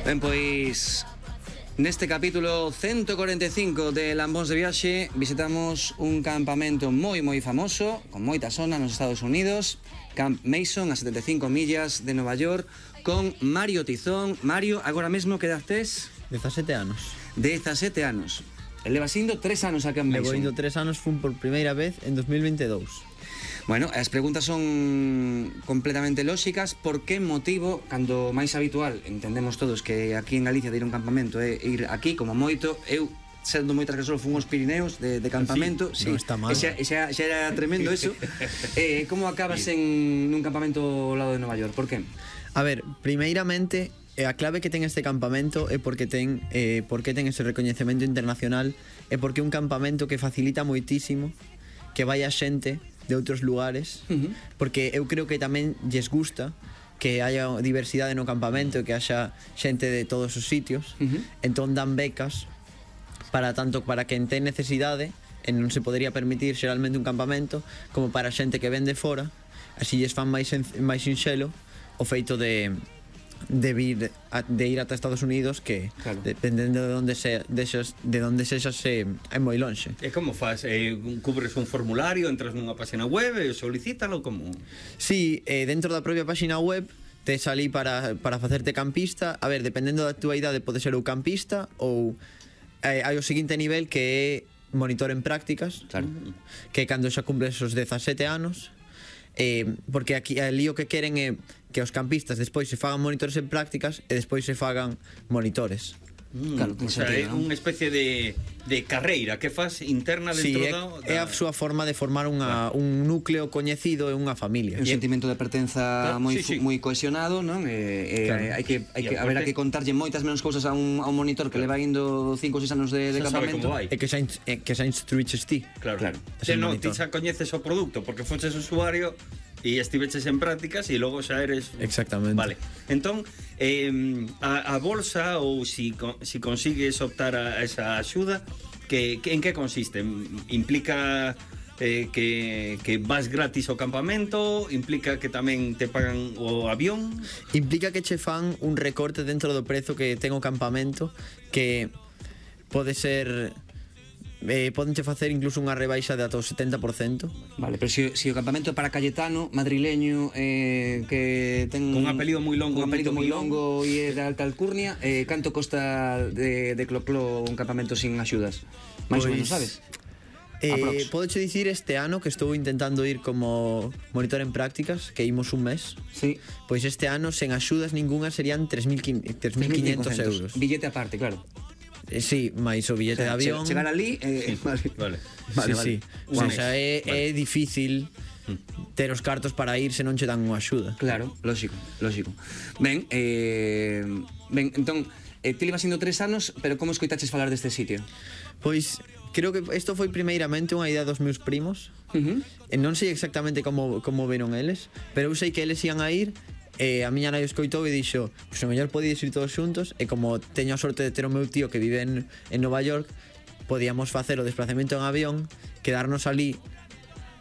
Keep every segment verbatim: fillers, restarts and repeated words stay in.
Ben, pois neste capítulo ciento cuarenta e cinco de Lambóns de Viaxe visitamos un campamento moi moi famoso, con moita zona nos Estados Unidos, Camp Mason, a setenta e cinco millas de Nova York, con Mario Tizón. Mario, agora mesmo que edad tes? dezasete anos. dezasete anos. El leva indo tres anos a Camp Mason. Levo indo tres anos, fun por primeira vez en dos mil veintidous. Bueno, as preguntas son completamente lóxicas. Por que motivo, cando máis habitual, entendemos todos que aquí en Galicia de ir a un campamento é ir aquí como moito, eu sendo moitas que só fun aos Pirineos de, de campamento, sí, non está mal. E xa, xa, xa era tremendo eso. eh, como acabas en un campamento ao lado de Nova York? Por que? A ver, primeiramente, a clave que ten este campamento é porque ten eh, porque ten ese recoñecemento internacional, é porque é un campamento que facilita moitísimo que vaya xente de outros lugares, uh-huh. porque eu creo que tamén lles gusta que haya diversidade no campamento e que haxa xente de todos os sitios, uh-huh. entón dan becas para tanto para quen ten necesidade e non se podería permitir xeralmente un campamento, como para xente que ven de fora, así lles fan máis, máis sinxelo o feito de de vir a, de ir ata Estados Unidos, que claro, dependendo de onde se de esas, de onde sexas se é moi lonxe. E como faz? Eh, cubres un formulario, entras nunha página web e solicítalo como? Sí, eh, dentro da propia página web tes ali para, para facerte campista. A ver, dependendo da túa idade pode ser ou campista ou eh, hai o seguinte nivel que é monitor en prácticas, claro, que cando xa cumples os dezasete anos, eh, porque aquí ali o que queren é que os campistas despois se fagan monitores en prácticas e despois se fagan monitores. Mm, claro, o sea, é unha especie de, de carreira que faz interna dentro sí, da... é a súa forma de formar unha, claro, un núcleo coñecido e unha familia. Un sentimento de pertenza claro, moi sí, sí. moi cohesionado, non? E, e claro, hai que hai que haberá que contarlle moitas menos cousas a un a un monitor que claro, leva indo cinco ou seis anos de, de campamento. E que xa e que xa instruiches ti. Claro, claro. Se non, ti xa coñeces o produto porque fonches usuario e estiveches en prácticas e logo xa eres... Exactamente. Vale. Entón, eh, a, a bolsa ou si, si consigues optar a esa axuda, que, que en que consiste? Implica eh, que, que vas gratis ao campamento? Implica que tamén te pagan o avión? Implica que che fan un recorte dentro do prezo que ten o campamento, que pode ser... Eh, podenche facer incluso unha rebaixa de ata o setenta por cento. Vale, pero se si, si o campamento é para Cayetano, madrileño, eh, que ten un apelido moi longo, un apelido moi longo e de alta alcurnia, eh, canto costa de, de cloclo un campamento sin axudas? Mais pues, ou menos, sabes? Eh, Podeche dicir este ano que estou intentando ir como monitor en prácticas, que imos un mes. Sí. Pois este ano sen axudas ninguna serían tres mil quinhentos euros. Billete aparte, claro. Eh, sí, máis o billete, o sea, de avión. Chegar ali, eh, sí, vale. Vale. Vale, sí, vale. Sí. O sea, xa é, vale, é difícil ter os cartos para ir se non che dan unha axuda. Claro, lógico, lógico. Ben, eh, ben, entón, eh, ti levas indo tres anos, pero como escoitaches falar deste sitio? Pois, creo que isto foi primeiramente unha idea dos meus primos. Uh-huh. E non sei exactamente como, como veron eles, pero eu sei que eles ian a ir. E a miña nai escoitou e dixo, pois o mellor podedes ir todos xuntos. E como teño a sorte de ter o meu tío que vive en, en Nova York, podíamos facer o desplazamento en avión, quedarnos ali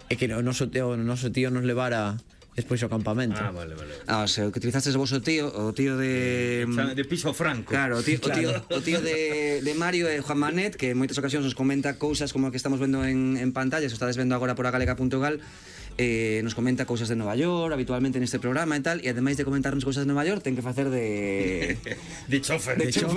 e que o noso tío, o noso tío nos levara despois ao campamento. Ah, vale, vale. Ah, o sea, que utilizaste o vosso tío, o tío de... De piso franco. Claro, o tío, claro. o tío, o tío de, de Mario e Juan Manet, que en moitas ocasións nos comenta cousas como a que estamos vendo en, en pantalla, se estades vendo agora por agalega punto gal, eh, nos comenta cousas de Nova York habitualmente neste programa e tal, e ademais de comentarnos cousas de Nova York ten que facer de... de chofer. De chofer.